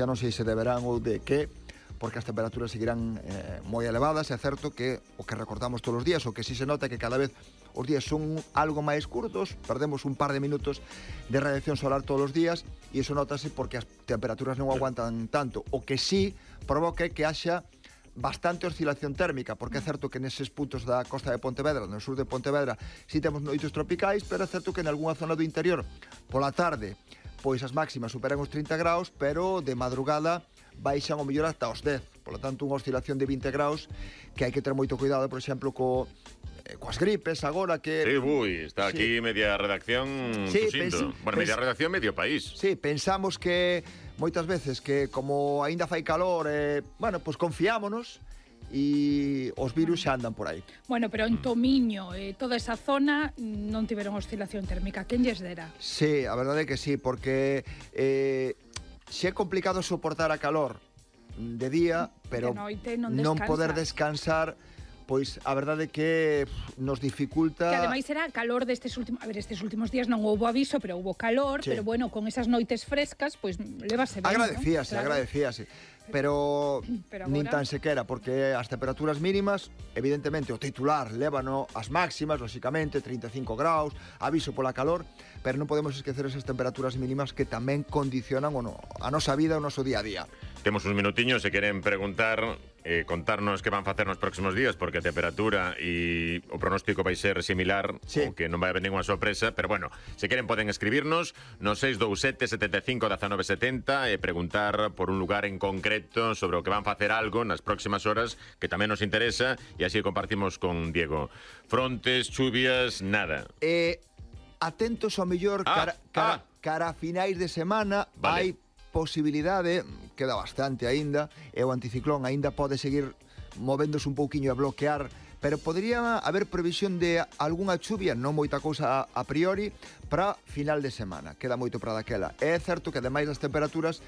xa non sei se deberán ou de que, porque as temperaturas seguirán moi elevadas. É certo que o que recordamos todos os días, o que si se nota que cada vez os días son algo máis curtos, perdemos un par de minutos de radiación solar todos os días, e iso notase porque as temperaturas non aguantan tanto. O que sí provoca que haxa bastante oscilación térmica, porque é certo que neses puntos da costa de Pontevedra, no sur de Pontevedra, si temos noites tropicais, pero é certo que en algunha zona do interior, pola tarde, pois as máximas superan os 30 graus, pero de madrugada baixan o mellor ata os 10. Por lo tanto, unha oscilación de 20 graus que hai que ter moito cuidado, por exemplo, coas gripes agora que... Sí, está aquí media redacción tusindo. Bueno, media redacción, medio país. Sí, pensamos que moitas veces que como aínda fai calor, bueno, pois confiámonos e os virus xa andan por aí. Bueno, pero en Tomiño, toda esa zona non tiveron oscilación térmica. Quen lles dera? Sí, a verdade é que sí, porque xe é complicado soportar a calor de día, pero de noite non poder descansar, pois a verdade é que nos dificulta... Que ademais era calor destes últimos... A ver, estes últimos días non houbo aviso, pero houbo calor, sí. Pero bueno, con esas noites frescas, pois lévase ben, agradecíase, ¿no? Claro. Agradecíase. Pero nin tan sequera, porque as temperaturas mínimas, evidentemente, o titular lévano as máximas, lóxicamente, 35 graus, aviso pola calor, pero non podemos esquecer esas temperaturas mínimas que tamén condicionan a nosa vida, o noso día a día. Temos uns minutiños, se queren preguntar, contarnos que van facer nos próximos días, porque a temperatura e o pronóstico vai ser similar, sí. O que non vai haber ninguna sorpresa, pero bueno, se queren poden escribirnos no 627 75 19 70 e preguntar por un lugar en concreto sobre o que van facer algo nas próximas horas que tamén nos interesa, e así compartimos con Diego. Frontes, chuvias, nada. Atentos ao mellor cara a finais de semana, vale. Hai posibilidade, queda bastante aínda, e o anticiclón aínda pode seguir movéndose un pouquiño a bloquear, pero podría haber previsión de algunha chuvia, non moita cousa a priori, para final de semana. Queda moito para daquela. É certo que ademais das temperaturas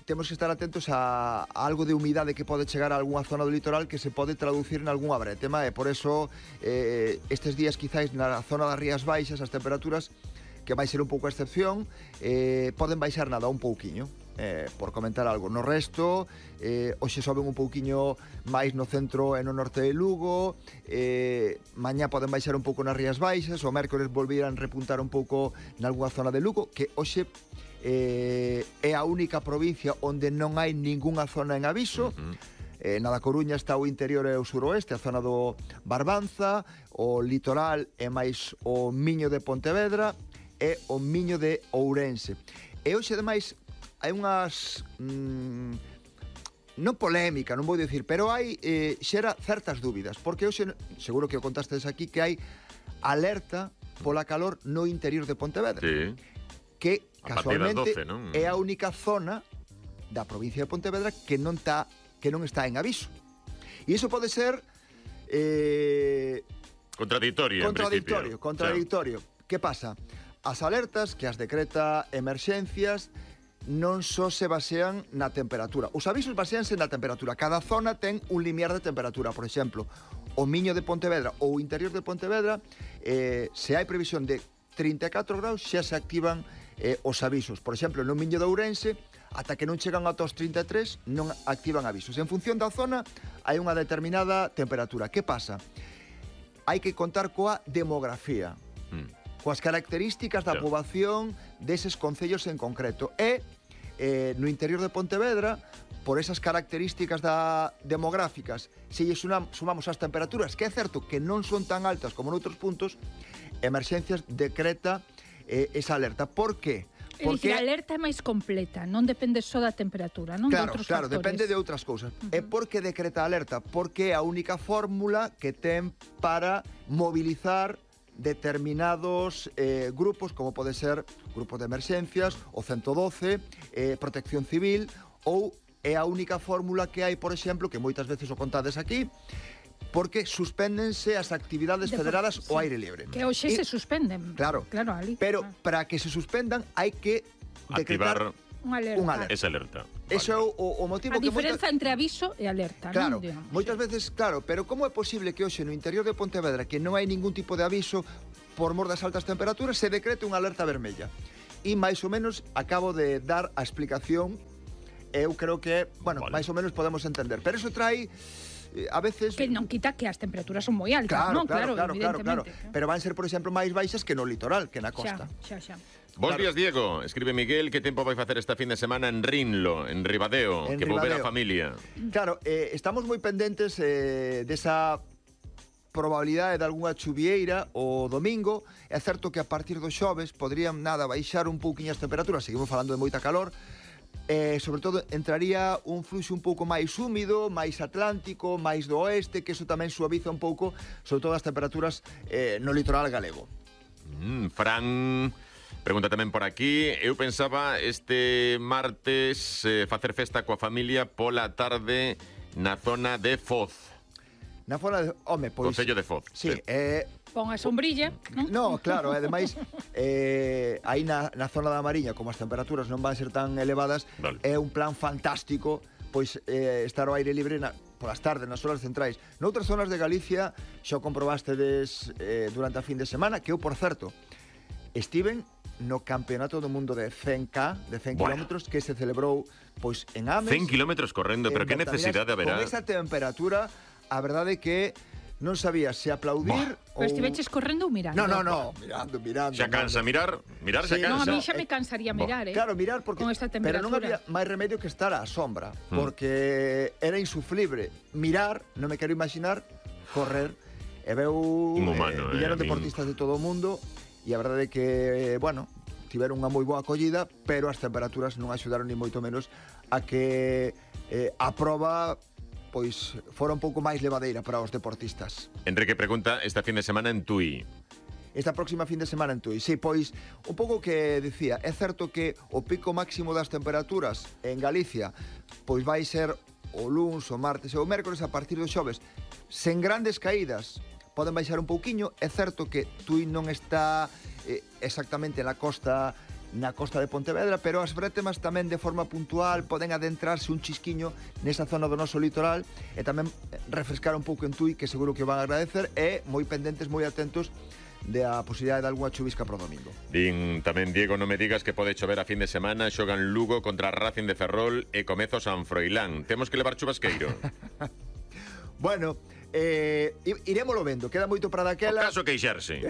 temos que estar atentos a algo de humidade que pode chegar a algunha zona do litoral que se pode traducir en algunha bretema, e por eso estes días quizáis na zona das Rías Baixas as temperaturas, que vai ser un pouco a excepción, poden baixar nada un pouquiño, por comentar algo. No resto, hoxe soben un pouquiño máis no centro e no norte de Lugo, mañá poden baixar un pouco nas Rías Baixas, o mércores volvirán repuntar un pouco nalgúna zona de Lugo, que hoxe é a única provincia onde non hai ningunha zona en aviso. Na da Coruña está o interior e o suroeste, a zona do Barbanza, o litoral e máis o Miño de Pontevedra e o Miño de Ourense. E hoxe, ademais, hai unhas... non polémica, non vou dicir, pero hai xera certas dúbidas, porque hoxe, seguro que o contastes aquí, que hai alerta pola calor no interior de Pontevedra. Sí. Que, casualmente, 12, non? é a única zona da provincia de Pontevedra que non está en aviso. E iso pode ser... Contradictorio. Contradictorio. Que pasa? As alertas que as decreta emerxencias non só se basean na temperatura. Os avisos baseanse na temperatura. Cada zona ten un limiar de temperatura. Por exemplo, o Miño de Pontevedra ou o interior de Pontevedra, se hai previsión de 34 graus, xa se activan os avisos. Por exemplo, no Miño de Ourense, ata que non chegan ata os 33, non activan avisos. En función da zona, hai unha determinada temperatura. Que pasa? Hai que contar coa demografía, coas características da poboación deses concellos en concreto. E no interior de Pontevedra, por esas características demográficas, se lle sumamos as temperaturas, que é certo que non son tan altas como noutros puntos, Emerxencias decreta esa alerta. Por qué? Porque a alerta é máis completa, non depende só da temperatura, non? Claro, de outros claro, factores. Depende de outras cousas. E por que decreta a alerta? Porque é a única fórmula que ten para mobilizar determinados grupos, como pode ser grupos de emerxencias, o 112, Protección Civil, ou é a única fórmula que hai, por exemplo, que moitas veces o contades aquí, porque suspéndense as actividades federadas ao aire libre. Que hoxe se suspenden. Claro, ali. Pero para que se suspendan hai que decretar unha alerta. Esa alerta. Ese é o motivo a diferenza entre aviso e alerta, claro, non? Moitas veces, claro, pero como é posible que hoxe no interior de Pontevedra, que non hai ningún tipo de aviso por mor das altas temperaturas, se decrete unha alerta vermella? e máis ou menos acabo de dar a explicación. Eu creo que, bueno, máis ou menos podemos entender. Pero eso trae a veces... Que non quita que as temperaturas son moi altas, non? Claro. Pero van ser, por exemplo, máis baixas que no litoral, que na costa. Xa. Bos días, Diego. Escribe Miguel, que tempo vai facer esta fin de semana en Rinlo, en Ribadeo, que volver a familia. Claro, estamos moi pendentes desa probabilidade de algunha chuvieira o domingo. É certo que a partir do xoves podrían baixar un pouquiño as temperaturas, seguimos falando de moita calor, sobre todo entraría un fluxo un pouco máis húmido, máis atlántico, máis do oeste, que eso tamén suaviza un pouco, sobre todo as temperaturas no litoral galego. Fran pregunta tamén por aquí. Eu pensaba este martes facer festa coa familia pola tarde na zona de Foz. Na zona de... Home, pois... Concello de Foz. Sí, pon a sombrilla, non? No, claro, ademais aí na zona da Mariña, como as temperaturas non van ser tan elevadas, vale. É un plan fantástico pois estar ao aire libre polas tardes, nas horas centrais. Noutras zonas de Galicia xa comprobastedes durante a fin de semana, que eu, por certo, estiven no campeonato do mundo de 100K, de 100 kilómetros, que se celebrou pois en Ames. 100 kilómetros correndo, pero que necesidade haberá? Con esa temperatura, a verdade é que non sabía se aplaudir ou... Pero estiveches correndo ou mirando? No, mirando. Xa cansa mirar xa cansa. Non, a mí xa me cansaría mirar, Claro, mirar, porque, con esta temperatura. pero non había máis remedio que estar á sombra, porque era insufrible. Mirar, non me quero imaginar, correr. E veu viñeron deportistas de todo o mundo, e a verdade é que, bueno, tiveron unha moi boa acollida, pero as temperaturas non axudaron ni moito menos a que a proba pois fora un pouco máis levadeira para os deportistas. Enrique pregunta, esta fin de semana en Tui. Esta próxima fin de semana en Tui. Sí, pois, un pouco que decía, é certo que o pico máximo das temperaturas en Galicia pois vai ser o luns, o martes e o mércores a partir do xoves. Sen grandes caídas, poden baixar un pouquiño. É certo que Tui non está exactamente na costa de Pontevedra, pero as brétemas tamén de forma puntual poden adentrarse un chisquiño nesa zona do noso litoral e tamén refrescar un pouco en Tui, que seguro que van a agradecer, e moi pendentes, moi atentos da posibilidade de algunha chuvisca pro domingo. Din tamén, Diego, non me digas que pode chover a fin de semana, xogan Lugo contra Racing de Ferrol e Comezo San Froilán. Temos que levar chubasqueiro. Bueno, irémolo vendo, queda moito para daquela. O caso queixarse.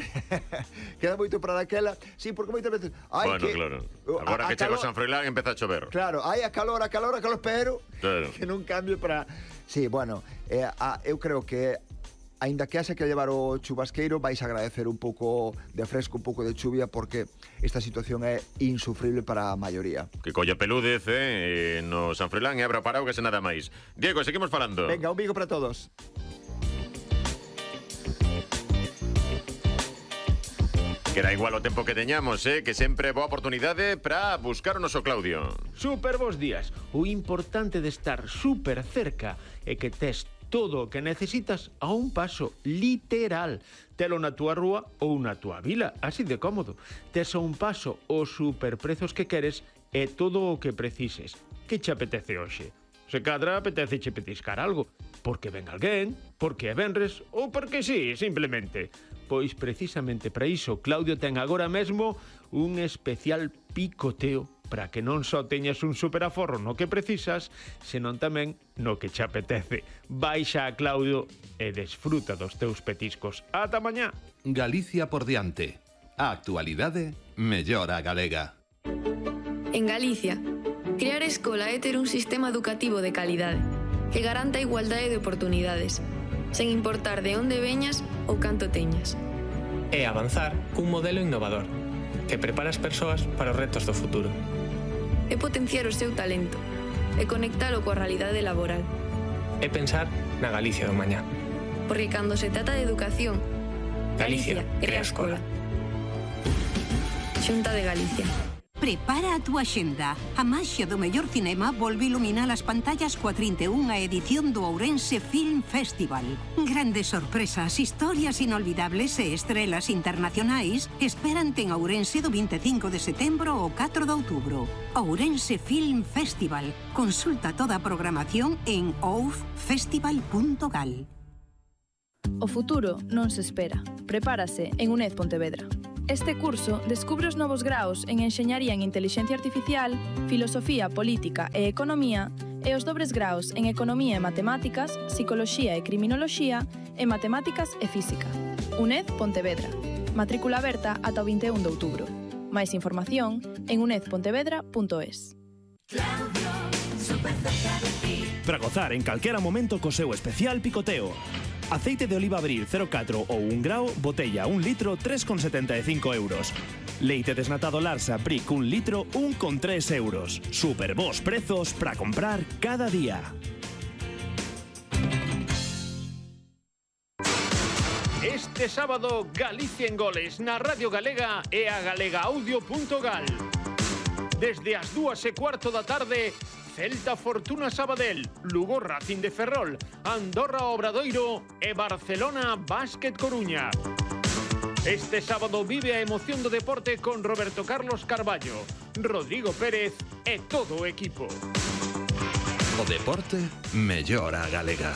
Queda moito para daquela. Sí, porque moitas veces claro. Agora que chego a San Froilán empeza a chover. Claro, hai a calor, pero claro, que non cambie para... Sí, bueno, eu creo que aínda que haxa que levar o chubasqueiro, vais a agradecer un pouco de fresco, un pouco de chuvia, porque esta situación é insufrible para a maioría. Que colla pelúdez, no San Froilán e abra paraugas e nada máis. Diego, seguimos falando. Venga, un bico para todos. Que era igual o tempo que teñamos, que sempre boa oportunidade para buscar o noso Claudio. Super bons días. O importante de estar super cerca é que tes todo o que necesitas a un paso, literal. Telo na túa rúa ou na túa vila, así de cómodo. Tes a un paso os superprezos que queres e todo o que precises. Que che apetece hoxe? Se cadra apetece che petiscar algo, porque ven alguén, porque é venres ou porque sí, simplemente. Pois precisamente para iso Claudio ten agora mesmo un especial picoteo para que non só teñas un superaforro no que precisas, senón tamén no que che apetece. Baixa a Claudio e desfruta dos teus petiscos. Ata mañá. Galicia por diante. A actualidade mellora galega. En Galicia, crear escola é ter un sistema educativo de calidade que garanta a igualdade de oportunidades, sen importar de onde veñas ou canto teñas. É avanzar cun modelo innovador que prepara as persoas para os retos do futuro. É potenciar o seu talento e conectalo coa realidade laboral. É pensar na Galicia do mañá. Porque cando se trata de educación, Galicia crea escola. Xunta de Galicia. Prepara a túa xenda. A maxia do mellor cinema volve iluminar as pantallas coa 31ª edición do Ourense Film Festival. Grandes sorpresas, historias inolvidables e estrelas internacionais esperante en Ourense do 25 de setembro ao 4 de outubro. Ourense Film Festival. Consulta toda a programación en oufestival.gal. O futuro non se espera. Prepárase en UNED Pontevedra. Este curso descubre os novos graos en Enxeñaría en Intelixencia Artificial, Filosofía, Política e Economía e os dobres graos en Economía e Matemáticas, Psicoloxía e Criminoloxía e Matemáticas e Física. UNED Pontevedra. Matrícula aberta ata o 21 de outubro. Máis información en unedpontevedra.es. Para gozar en calquera momento co seu especial picoteo. Aceite de oliva Abril 0,4 ou 1 grao, botella 1 litro, 3,75 euros. Leite desnatado Larsa Brick 1 litro, 1,3 euros. Super bons prezos para comprar cada día. Este sábado, Galicia en goles na Radio Galega e a galegaaudio.gal. Desde as 2:15 da tarde, Celta Fortuna Sabadell, Lugo Racing de Ferrol, Andorra Obradoiro e Barcelona Básquet Coruña. Este sábado vive a emoción do deporte con Roberto Carlos Carballo, Rodrigo Pérez e todo o equipo. O deporte mellora a galega.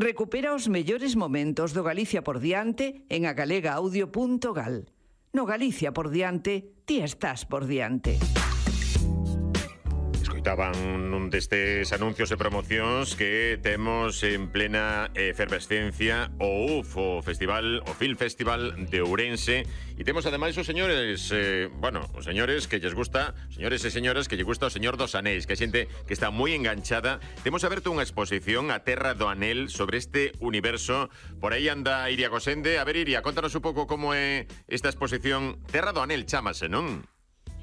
Recupera os mellores momentos do Galicia por diante en agalegaaudio.gal. No Galicia por diante, ti estás por diante. Escoitaban un destes anuncios e promocións que temos en plena efervescencia o UF, o Film Festival de Ourense, e temos ademais os señores, os señores que lles gusta, señores e señoras que lle gusta o Señor dos Anéis, que hai xente que está moi enganchada. Temos aberto unha exposición a Terra do Anel sobre este universo. Por aí anda Iria Gosende. A ver, Iria, contanos un pouco como é esta exposición. Terra do Anel chámase, non?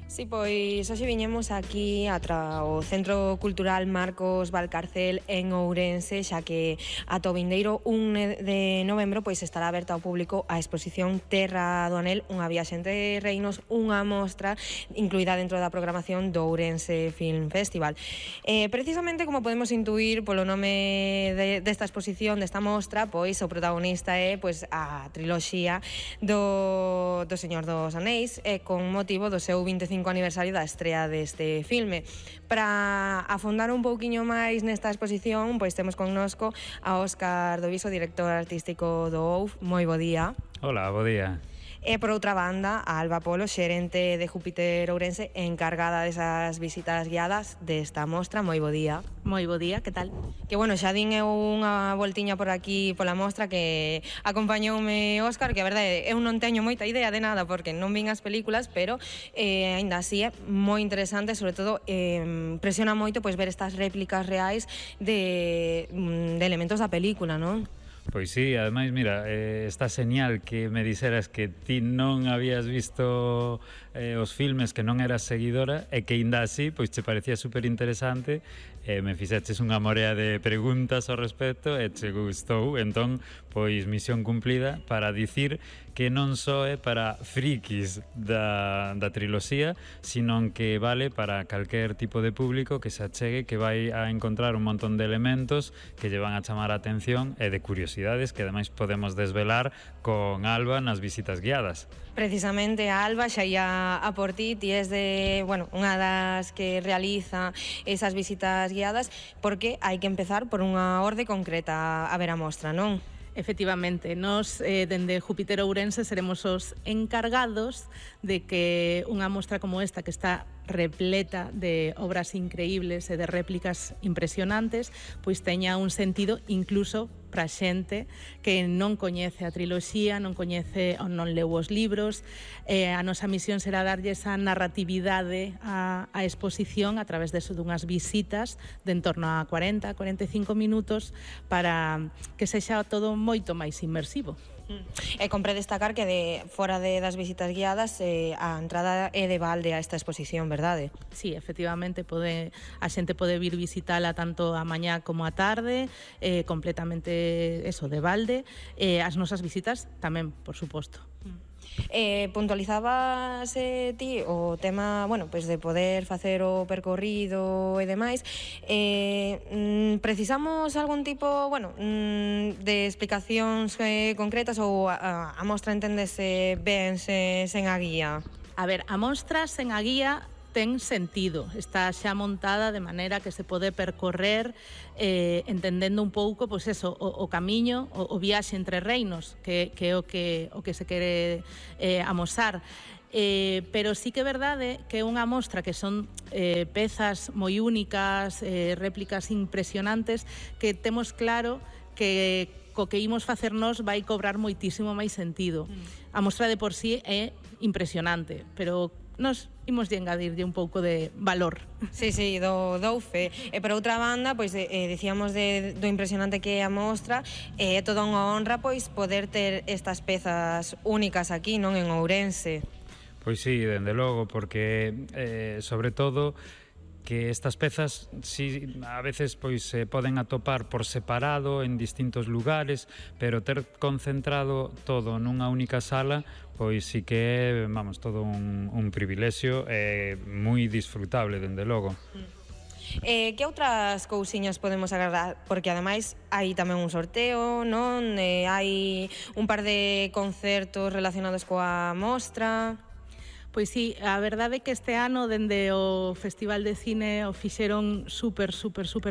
Sí, pois hoxe viñemos aquí ao Centro Cultural Marcos Valcarcel en Ourense, xa que ata o vindeiro 1 de novembro pois estará aberta ao público a exposición Terra do Anel, unha viaxe entre reinos, unha mostra incluída dentro da programación do Ourense Film Festival. Precisamente, como podemos intuir polo nome desta exposición, desta mostra, pois o protagonista é pois a triloxía do Señor dos Anéis, con motivo do seu 25 aniversario da estrea deste filme. Para afondar un pouquiño máis nesta exposición, pois temos connosco a Óscar Doviso, director artístico do OUF. Moi bo día. Hola, bo día. E por outra banda, a Alba Polo, xerente de Júpiter Ourense, encargada desas visitas guiadas desta mostra. Moi bo día. Moi bo día, que tal? Que bueno, xa din eu unha voltiña por aquí pola mostra que acompañoume Óscar, que a verdade eu non teño moita idea de nada porque non vin as películas, pero aínda así é moi interesante, sobre todo presiona moito pois ver estas réplicas reais de elementos da película, non? Pois sí, ademais, mira, está señal que me dixeras que ti non habías visto os filmes, que non eras seguidora e que ainda así, pois te parecía super interesante, me fixaches unha morea de preguntas ao respecto e che gustou, entón, pois misión cumplida para dicir que non só é para frikis da triloxía, sino que vale para calquer tipo de público que se achegue, que vai a encontrar un montón de elementos que lle van a chamar a atención e de curiosidades que ademais podemos desvelar con Alba nas visitas guiadas. Precisamente a Alba xa ia a por ti, ti és de, unha das que realiza esas visitas guiadas, porque hai que empezar por unha orde concreta a ver a mostra, non? Efectivamente, nos dende Júpiter Ourense seremos os encargados de que unha mostra como esta, que está repleta de obras increíbles e de réplicas impresionantes, pois teña un sentido incluso para xente que non coñece a triloxía, non coñece ou non leu os libros. A nosa misión será darlle esa narratividade á exposición a través dunhas visitas de en torno a 40-45 minutos para que sexa todo moito máis inmersivo. E compre destacar que fora das visitas guiadas a entrada é de balde a esta exposición, verdade? Sí, efectivamente, a xente pode vir visitala tanto a mañá como a tarde, completamente de balde, as nosas visitas tamén, por suposto. Puntualizabas ti o tema, de poder facer o percorrido e demais. Precisamos algún tipo, de explicacións concretas ou a mostra entendese ben sen a guía? A ver, a mostra sen a guía ten sentido, está xa montada de maneira que se pode percorrer entendendo un pouco pois eso, o camiño, o viaxe entre reinos, que é o que se quere amosar. Pero sí que é verdade que é unha mostra que son pezas moi únicas, réplicas impresionantes, que temos claro que co que imos facernos vai cobrar moitísimo máis sentido. A mostra de por sí é impresionante, pero nos imos de engadirlle un pouco de valor. Sí, dou fe. E por outra banda, pois dicíamos do impresionante que é a mostra, é toda unha honra pois poder ter estas pezas únicas aquí, non, en Ourense. Pois sí, dende logo, porque sobre todo que estas pezas si a veces pois se poden atopar por separado en distintos lugares, pero ter concentrado todo nunha única sala, pois sí que é, vamos, todo un privilexio moi disfrutable, dende logo. Que outras cousiñas podemos agardar? Porque ademais hai tamén un sorteo, non? Hai un par de concertos relacionados coa mostra. Pois sí, a verdade é que este ano dende o Festival de Cine o fixeron super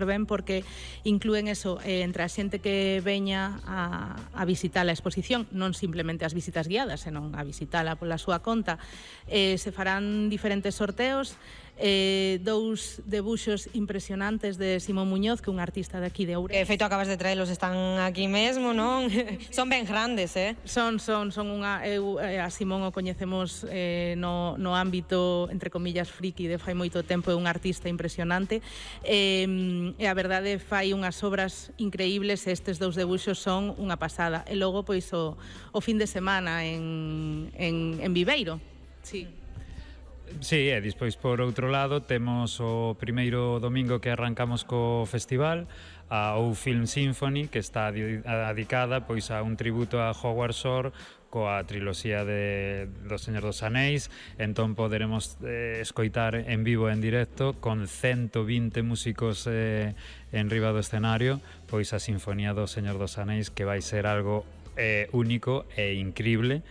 ben, porque inclúen eso, entre a xente que veña a visitar a exposición, non simplemente as visitas guiadas, senón a visitala pola súa conta. Se farán diferentes sorteos, dous debuxos impresionantes de Simón Muñoz, que é un artista de aquí de Ourense. De feito, acabas de traelos, están aquí mesmo, non? Son ben grandes, Son unha... a Simón o coñecemos no ámbito, entre comillas, friki de fai moito tempo, é un artista impresionante, e a verdade fai unhas obras increíbles, e estes dous debuxos son unha pasada. E logo, pois, o fin de semana en Viveiro. Sí. Sí, e despois por outro lado temos o primeiro domingo que arrancamos co festival, a OU Film Symphony, que está dedicada pois a un tributo a Howard Shore coa triloxía do Señor dos Anéis. Entón poderemos escoitar en vivo e en directo con 120 músicos en riba do escenario pois a Sinfonía do Señor dos Anéis, que vai ser algo único e increíble,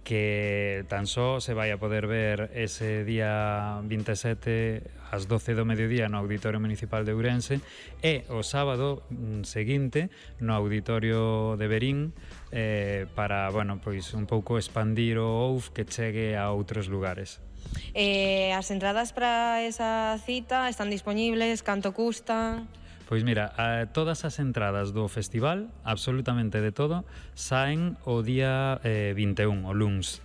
que tan só se vai a poder ver ese día 27 ás 12 do mediodía no Auditorio Municipal de Ourense, e o sábado seguinte no Auditorio de Verín, para, bueno, pois un pouco expandir o OUF que chegue a outros lugares. As entradas para esa cita están dispoñibles? Canto custa? Pois mira, todas as entradas do festival, absolutamente de todo, saen o día 21, o luns.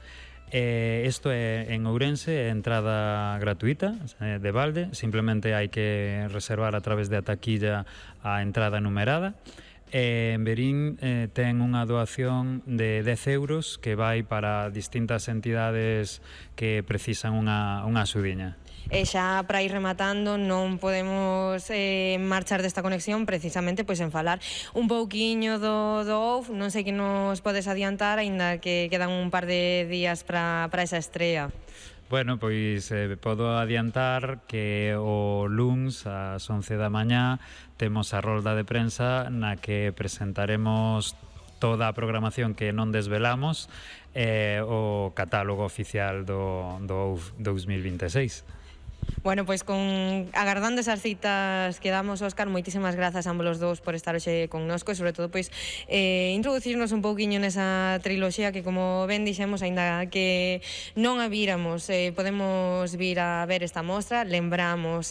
Isto é en Ourense, é entrada gratuita, de balde, simplemente hai que reservar a través de a taquilla a entrada numerada. En Verín ten unha doación de 10 euros que vai para distintas entidades que precisan unha axudiña. E xa para ir rematando, non podemos marchar desta conexión precisamente pois en falar un pouquiño do OUF. Non sei que nos podes adiantar, aínda que quedan un par de días para esa estrea. Bueno, pois podo adiantar que o luns ás 11 da mañá temos a rolda de prensa na que presentaremos toda a programación que non desvelamos, o catálogo oficial do OUF 2026. Bueno, pois agardando esas citas que damos, Óscar, moitísimas grazas a ambos os dous por estar hoxe connosco, e sobre todo pois introducirnos un pouquiño nesa triloxía que, como ben dixemos, aínda que non a víramos, podemos vir a ver esta mostra. Lembramos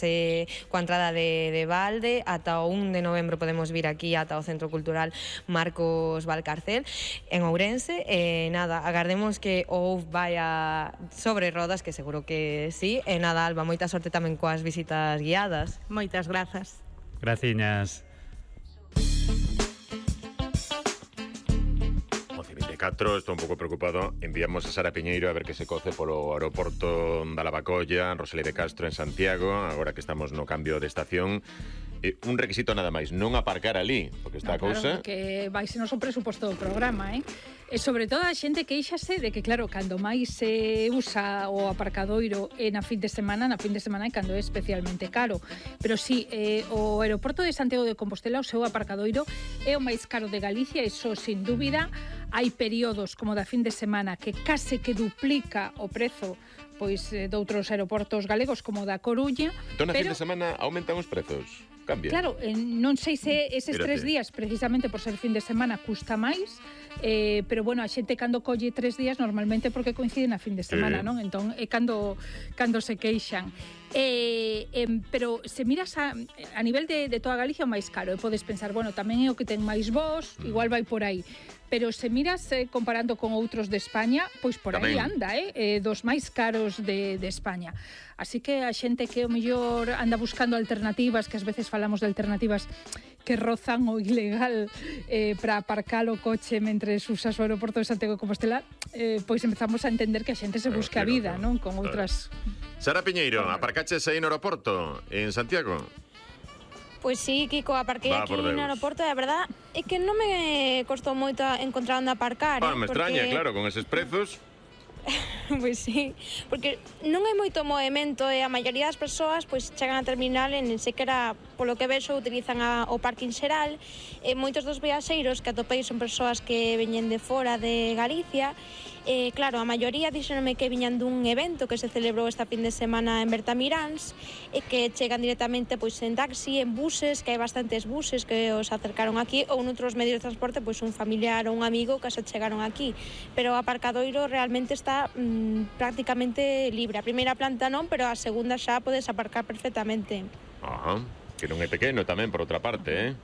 coa entrada de balde, ata o 1 de novembro podemos vir aquí ata o Centro Cultural Marcos Valcarcel en Ourense. Nada, agardemos que o OUF vaya sobre rodas, que seguro que sí. E nada, Alba, moita sorte tamén coas visitas guiadas. Moitas grazas. Graciñas. 11:24, estou un pouco preocupado. Enviamos a Sara Piñeiro a ver que se coce polo aeroporto da Lavacolla, Rosalía de Castro en Santiago, agora que estamos no cambio de estación. Un requisito nada máis, non aparcar ali, porque está a cousa... Claro, que vai ser noso presuposto do programa, E sobre todo a xente queixase de que, claro, cando máis se usa o aparcadoiro na fin de semana é cando é especialmente caro. Pero sí, o aeroporto de Santiago de Compostela, o seu aparcadoiro é o máis caro de Galicia, iso sin dúbida. hai períodos como da fin de semana que case que duplica o prezo pois doutros aeroportos galegos como da Coruña. Entón, na fin de semana aumentan os prezos? Cambia? Claro, non sei se eses 3 días, precisamente por ser fin de semana, custa máis, pero bueno, a xente cando colle 3 días normalmente porque coincide na fin de semana, non? Entón, é cando se queixan. Pero se miras a nivel de toda Galicia o máis caro, e podes pensar, bueno, tamén é o que ten máis voz, igual vai por aí. Pero se miras comparando con outros de España, pois por aí anda, dos máis caros de España. Así que a xente que o mellor anda buscando alternativas, que ás veces falamos de alternativas que rozan o ilegal para aparcar o coche mentre usas o aeroporto de Santiago de Compostela, pois empezamos a entender que a xente se busca a vida, non? Con outras... Sara Piñeiro, aparcaches aí no aeroporto en Santiago? Pois sí, Kiko, aparquei aquí no aeroporto e a verdad é que non me costou moito encontrar onde aparcar. Me extraña, claro, con eses prezos. Pois sí, porque non hai moito movimento e a maioría das persoas pois chegan a terminal e nin sequera, polo que vexo, utilizan o parking xeral. E moitos dos viaxeiros que atopei son persoas que veñen de fora de Galicia. Claro, a maioría díxenome que viñan dun evento que se celebrou esta fin de semana en Bertamiráns e que chegan directamente pois en taxi, en buses, que hai bastantes buses que os acercaron aquí, ou noutros medios de transporte, pois un familiar ou un amigo que se chegaron aquí. Pero o aparcadoiro realmente está prácticamente libre. A primeira planta non, pero a segunda xa podes aparcar perfectamente. Que non é pequeno tamén, por outra parte,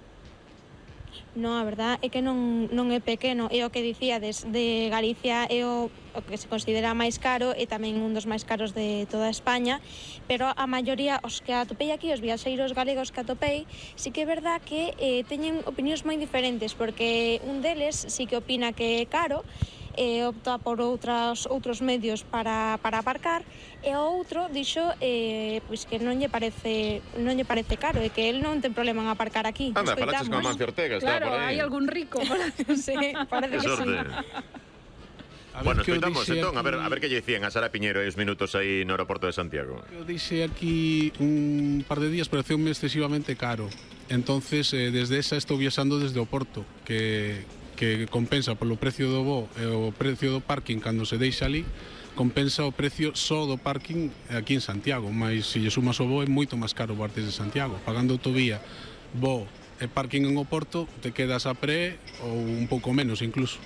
Non, a verdad é que non é pequeno. É o que dicíades, de Galicia é o que se considera máis caro e tamén un dos máis caros de toda España, pero a maioría, os que atopei aquí, os viaxeiros galegos que atopei, sí que é verdad que teñen opinións moi diferentes, porque un deles sí que opina que é caro, opta por outros medios para aparcar, e o outro dixo pois que non lle parece caro e que el non ten problema en aparcar aquí. Anda, falaches con Amancio Ortega, está por aí. Claro, hai algún rico. Sí, parece que sí. Bueno, escoitamos entón, a ver que lle dicían a Sara Piñeiro e os minutos aí no aeroporto de Santiago. Eu dixe aquí un par de días, pareceume excesivamente caro. Entonces, desde esa estou viaxando desde o Porto, que compensa polo precio do voo e o precio do parking cando se deixa ali, compensa o precio só do parking aquí en Santiago, mas se lle sumas o voo é moito máis caro partes de Santiago. Pagando autovía, voo e parking en Oporto, te quedas a pré ou un pouco menos incluso.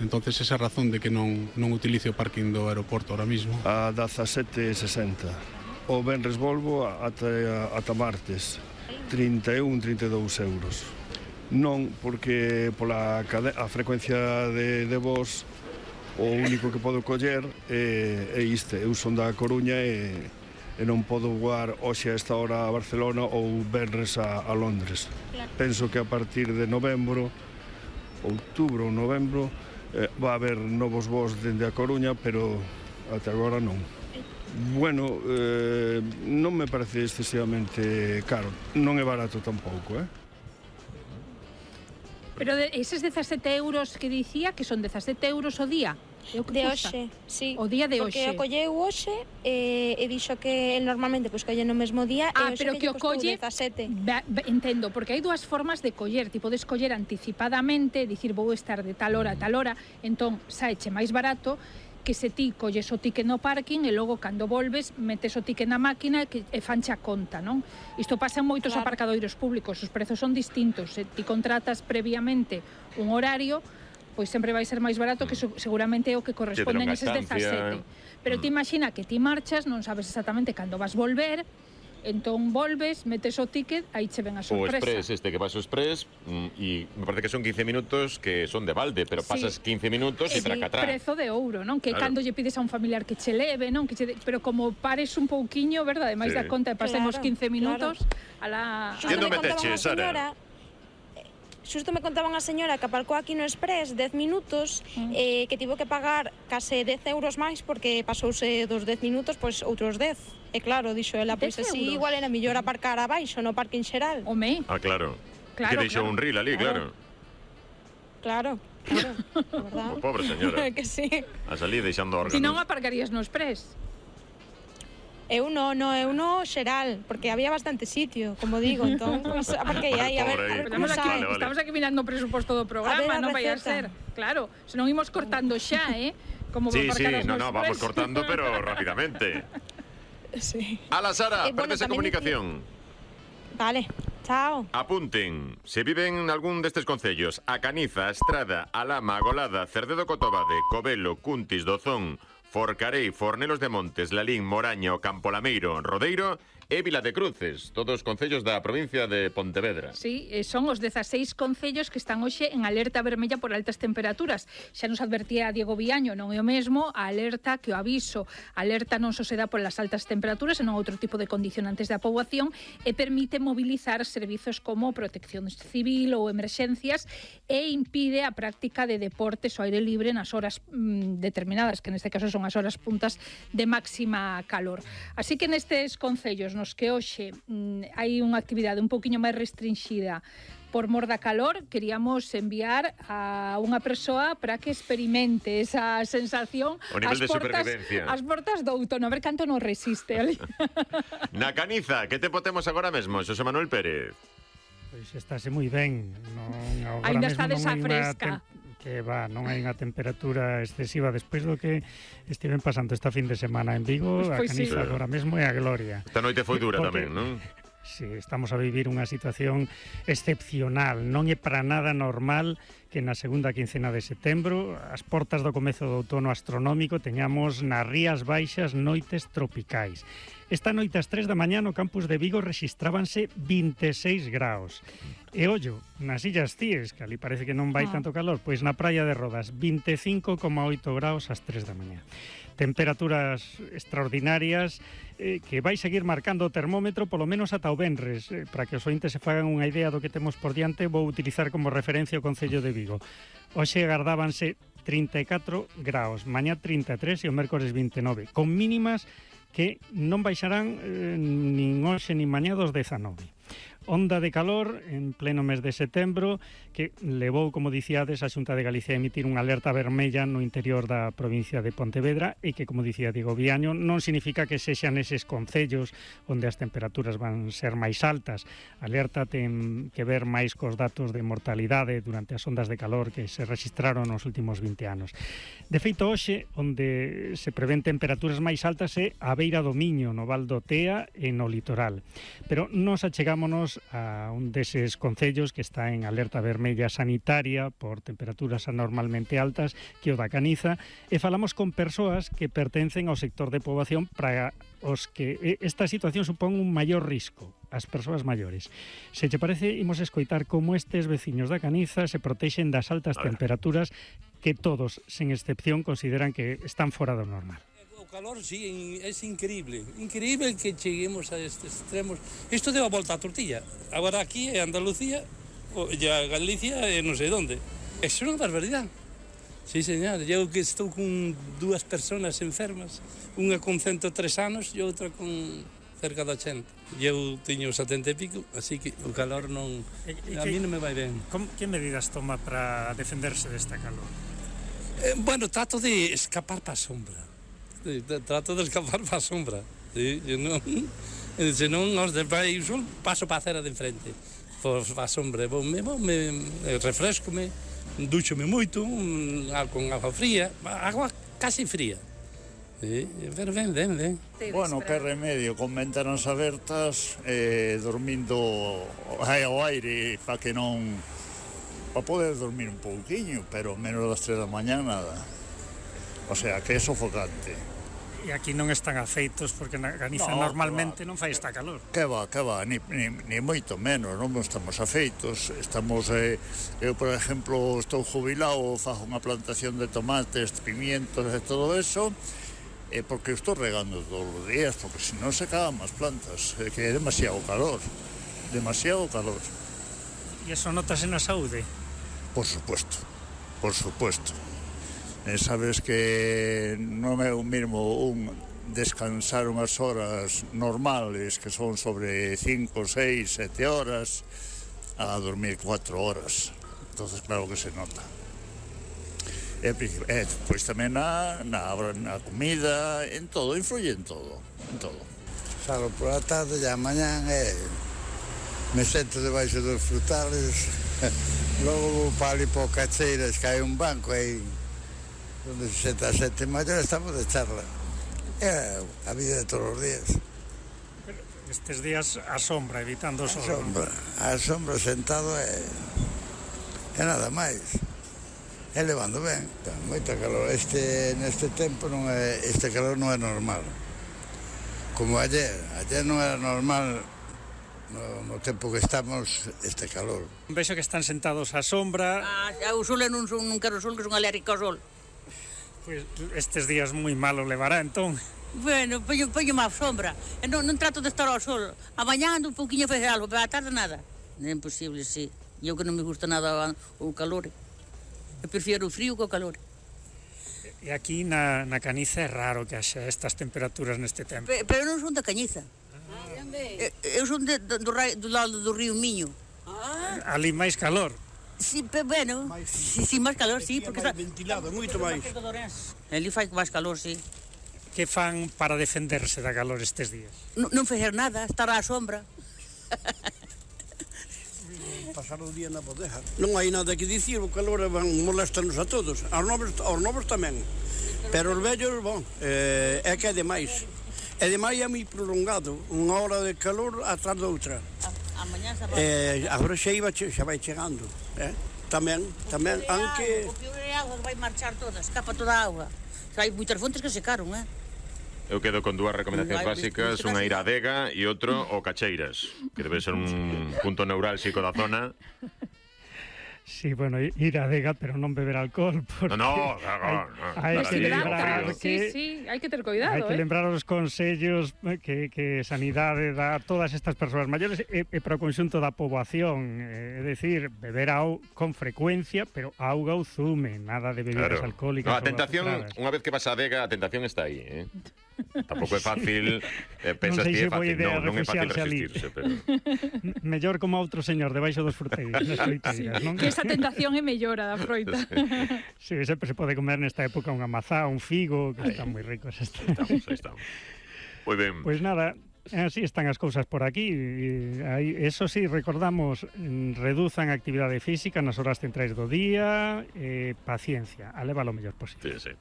Entonces esa razón de que non utilice o parking do aeroporto ahora mismo. A 17,60. O venres volvo ata martes, 31-32 euros. Non, porque pola a frecuencia de voz o único que podo coller é isto. Eu son da Coruña e non podo voar hoxe a esta hora a Barcelona ou venres a Londres. Penso que a partir de novembro, outubro ou novembro, va a haber novos voos dende a Coruña, pero até agora non. Bueno, non me parece excesivamente caro. Non é barato tampouco, Pero eses 17 euros que dicía, que son 17 euros o día? De hoxe, sí. O día de hoxe. Porque o colleu hoxe e dixo que normalmente pois colle no mesmo día e pero que o colle 17. Entendo, porque hai dúas formas de coller. Ti podes coller anticipadamente, dicir vou estar de tal hora a tal hora, entón saeche máis barato que se ti colles o ticket no parking e logo cando volves metes o ticket na máquina e fanche a conta, non? Isto pasa en moitos aparcadoiros públicos, os prezos son distintos. Se ti contratas previamente un horario, pois sempre vai ser máis barato que seguramente é o que corresponden eses 17. Pero ti imagina que ti marchas, non sabes exactamente cando vas volver, entón volves, metes o ticket, aí che ven a sorpresa. O express que vas ao express e me parece que son 15 minutos que son de balde, pero pasas 15 minutos e tracatrá. Prezo de ouro, non? Que cando lle pides a un familiar que che leve, non? Pero como pares un pouquiño, verdade? Mais da conta e pasemos 15 minutos a la... Quendo meteche, Sara? Xusto me contaban a señora que aparcou aquí no Express 10 minutos que tivo que pagar case 10 euros máis porque pasouse dos 10 minutos pois outros 10. E claro, dixo ela, pois así igual era mellor aparcar abaixo no parking xeral. Home. Claro. Que deixou un ril ali, claro. Claro, verdad. Pobre señora. Que sí. A salir deixando órganos. Si non aparcarías no Express. Eu no xeral, porque había bastante sitio, como digo, entón, pois, aparquei aí, a ver como sai. Estamos aquí mirando o presuposto do programa, non vai a ser. Claro, se non imos cortando xa, como sí, vamos cortando, pero rápidamente. Sí. Ala, Sara, perdese comunicación. Vale, chao. Apunten, se viven en algún destes concellos: A Caniza, Estrada, Alama, Agolada, Cerdedo Cotobade, Covelo, Cuntis, Dozón, Forcarei, Fornelos de Montes, Lalín, Moraña, o Campolameiro, Rodeiro e Vila de Cruces, todos concellos da provincia de Pontevedra. Sí, son os 16 concellos que están hoxe en alerta vermella por altas temperaturas. Xa nos advertía Diego Viaño, non é o mesmo a alerta que o aviso. A alerta non só se dá polas altas temperaturas, senón outro tipo de condicionantes da poboación e permite mobilizar servizos como protección civil ou emerxencias e impide a práctica de deportes ao aire libre nas horas determinadas, que neste caso son as horas puntas de máxima calor. Así que nestes concellos nos que hoxe hai unha actividade un poquinho máis restringida por mor da calor, queríamos enviar a unha persoa para que experimente esa sensación o nivel de supervivencia. As portas do outono, a ver canto nos resiste ali. Na Caniza, que tempo temos agora mesmo, Xosé Manuel Pérez? Pois estáse moi ben. Ainda está desa fresca. Que non hai unha temperatura excesiva despois do que estiven pasando esta fin de semana en Vigo. A Caniza agora mesmo é a gloria. Esta noite foi dura tamén, non? Sí, estamos a vivir unha situación excepcional. Non é para nada normal que na segunda quincena de setembro, as portas do comezo do outono astronómico, teñamos nas Rías Baixas noites tropicais. Esta noite ás 3 da mañá no campus de Vigo rexistrábanse 26 graus. E ollo, nas Illas Cíes, que ali parece que non vai tanto calor, pois na praia de Rodas 25,8 graus ás 3 da mañá. Temperaturas extraordinarias que vai seguir marcando o termómetro polo menos ata o venres. Para que os ointes se fagan unha idea do que temos por diante, vou utilizar como referencia o Concello de Vigo. Hoxe agardábanse 34 graus, mañá 33 e o mércores 29, con mínimas que non baixarán nin hoxe nin mañá dos 19. Onda de calor en pleno mes de setembro que levou, como dicíades, a Xunta de Galicia a emitir unha alerta vermella no interior da provincia de Pontevedra e que, como dicía Diego Viaño, non significa que sexan eses concellos onde as temperaturas van ser máis altas. A alerta ten que ver máis cos datos de mortalidade durante as ondas de calor que se registraron nos últimos 20 anos. De feito, hoxe, onde se prevén temperaturas máis altas é a beira do Miño, no Val do Tea e no litoral. Pero nos achegámonos a un deses concellos que está en alerta vermella sanitaria por temperaturas anormalmente altas, que o da Caniza, e falamos con persoas que pertencen ao sector de poboación para os que esta situación supón un maior risco, as persoas maiores. Se te parece, imos escoitar como estes veciños da Caniza se protexen das altas temperaturas que todos, sen excepción, consideran que están fora do normal. O calor, sí, es increíble que cheguemos a estes extremos. Isto deu a volta a tortilla. Agora aquí en Andalucía, e a Galicia e non sei onde. É unha barbaridade. Sí, señor, eu que estou con dúas persoas enfermas, unha con 103 anos e outra con cerca de 80. Eu teño 70 e pico, así que o calor non... A mí non me vai ben. Que medidas toma para defenderse desta calor? Bueno, trato de escapar para a sombra. Trato de escapar para a sombra. Sí, senón, paso para a acera de enfrente. Para a sombra. Me refresco-me, ducho-me moito, con agua fría, agua casi fría. Sí, pero ben. Bueno, que remedio, con ventanas abertas, dormindo ao aire para que non... para poder dormir un pouquiño, pero menos das 3 da mañá nada. O sea, que é sofocante. E aquí non están afeitos porque na Caniza normalmente non fai esta calor. Que va, ni moito menos, non estamos afeitos. Estamos, eu, por exemplo, estou jubilado, fago unha plantación de tomates, pimientos e todo eso, porque estou regando todos os días, porque se non se cagan as plantas, que é demasiado calor. E eso notase na saúde? Por supuesto. Sabes que non é o mesmo descansar unhas horas normales, que son sobre 5, 6, 7 horas, a dormir 4 horas. Entonces, claro que se nota. Pois tamén na comida, en todo, influye en todo. Salgo pola tarde e a mañán me sento debaixo dos frutales. Logo vou para ali por Cacheiras, que hai un banco aí onde se senta a xente maior, estamos de charla. É a vida de todos os días. Estes días a sombra, evitando o sol. A sombra sentado é nada máis. É levando ben, moita calor. Neste tempo este calor non é normal. Como ayer non era normal no tempo que estamos este calor. Vexo que están sentados á sombra. O sol non quero sol, que son alérgico ao sol. Pois estes días moi malo levará, entón. Bueno, poño má sombra. Non trato de estar ao sol. A mañá ando un pouquinho a facer algo, pero a tarde nada. É imposible, sí. Eu que non me gusta nada o calor. Eu prefiero o frío que o calor. E aquí na Caniza é raro que haxa estas temperaturas neste tempo. Pero non son da Cañiza. Eu son do lado do río Miño. Ali máis calor. Sí, bueno, sí, máis calor, sí. Porque máis ventilado, moito máis. Ali fai máis calor, sí. Que fan para defenderse da calor estes días? Non facer nada, estar á sombra. Pasar o día na bodeja. Non hai nada que dicir, o calor molesta-nos a todos. Aos novos tamén. Pero os vellos, é que é demais. E demais é moi prolongado. Unha hora de calor atrás da outra. Agora xa vai chegando. Tamén, aunque... O peor é a auga que vai marchar toda, escapa toda a auga. Hai moitas fontes que secaron, Eu quedo con dúas recomendacións básicas, unha ir á adega e outro o Cacheiras, que debe ser un punto neurálxico da zona. Sí, bueno, ir á adega, pero non beber alcohol, porque hai que lembrar que... Sí, hai que ter cuidado, Hai que lembrar os consellos que Sanidade dá a todas estas persoas maiores e para o conxunto da poboación, é dicir, beber con frecuencia, pero auga ou zume, nada de bebidas alcohólicas. A tentación, unha vez que vas á adega, a tentación está aí, Tampouco é fácil, pensas que é fácil, non é fácil resistirse, pero... Mellor como outro señor debaixo dos fruteiros, nas froiteiras, non? Que esa tentación é mellora da froita. Sí, sempre se pode comer nesta época unha mazá, un figo, que están moi ricos. Aí estamos. Moi ben. Pois nada, así están as cousas por aquí. Eso sí, recordamos, reduzan a actividade física nas horas centrais do día, paciencia, a levar o mellor posible. Sí.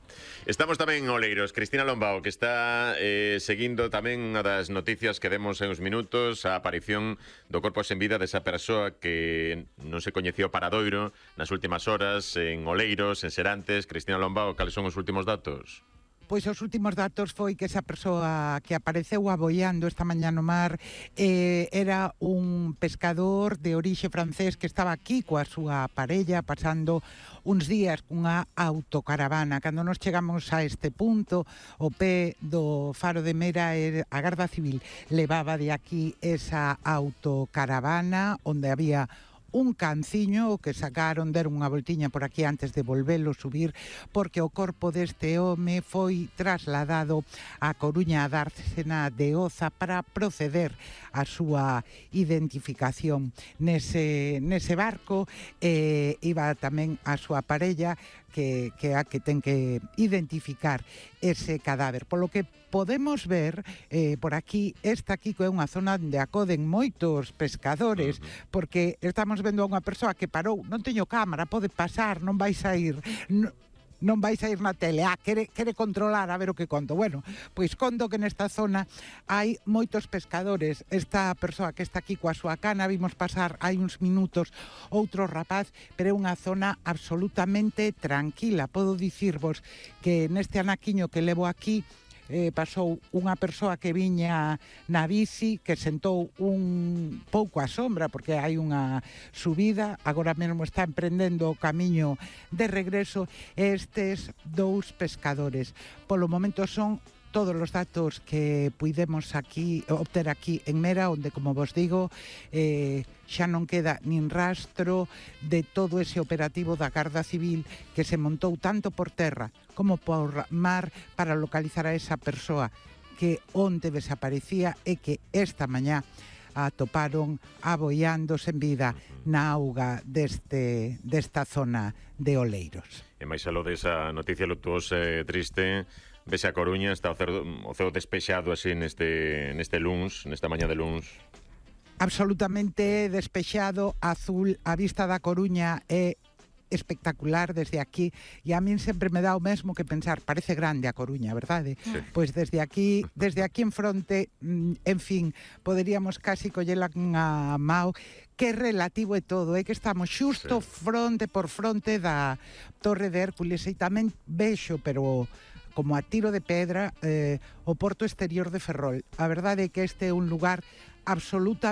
Estamos tamén en Oleiros. Cristina Lombao, que está seguindo tamén unha das noticias que demos en uns minutos, a aparición do corpo sen vida desa persoa que non se coñecía o paradoiro nas últimas horas en Oleiros, en Serantes. Cristina Lombao, cales son os últimos datos? Pois os últimos datos foi que esa persoa que apareceu aboiando esta mañá no mar era un pescador de orixe francés que estaba aquí coa súa parella pasando uns días cunha autocaravana. Cando nos chegamos a este punto, o pé do faro de Mera, a Garda Civil levaba de aquí esa autocaravana onde había un canciño que sacaron, deron unha voltiña por aquí antes de volvelo subir, porque o corpo deste home foi trasladado a Coruña, a Dársena de Oza, para proceder a súa identificación. Nese barco iba tamén a súa parella, que a que ten que identificar ese cadáver. Polo que podemos ver por aquí, esta aquí é unha zona onde acoden moitos pescadores, porque estamos vendo a unha persoa que parou, non teño cámara, pode pasar, non vais a ir... non vais a ir na tele, quere controlar a ver o que conto. Bueno, pois conto que nesta zona hai moitos pescadores. Esta persoa que está aquí coa súa cana, vimos pasar hai uns minutos outro rapaz, pero é unha zona absolutamente tranquila. Podo dicirvos que neste anaquiño que levo aquí pasou unha persoa que viña na bici, que sentou un pouco á sombra porque hai unha subida, agora mesmo está emprendendo o camiño de regreso. Estes dous pescadores polo momento son todos os datos que puidemos aquí obter aquí en Mera, onde, como vos digo, xa non queda nin rastro de todo ese operativo da Garda Civil que se montou tanto por terra como por mar para localizar a esa persoa que onde desaparecía e que esta mañá atoparon aboiando sen vida na auga desta zona de Oleiros. E máis aló desa noticia luctuosa e triste, vese a Coruña, está o ceo despexado así nesta mañá de luns. Absolutamente despexado, azul, a vista da Coruña é espectacular desde aquí, e a min sempre me dá o mesmo que pensar, parece grande a Coruña, verdade? Sí. Pois desde aquí en fronte, en fin, poderíamos casi collela a mao, que relativo é todo, é que estamos xusto fronte por fronte da Torre de Hércules, e tamén vexo, pero como a tiro de pedra, o porto exterior de Ferrol. A verdade é que este é un lugar absolutamente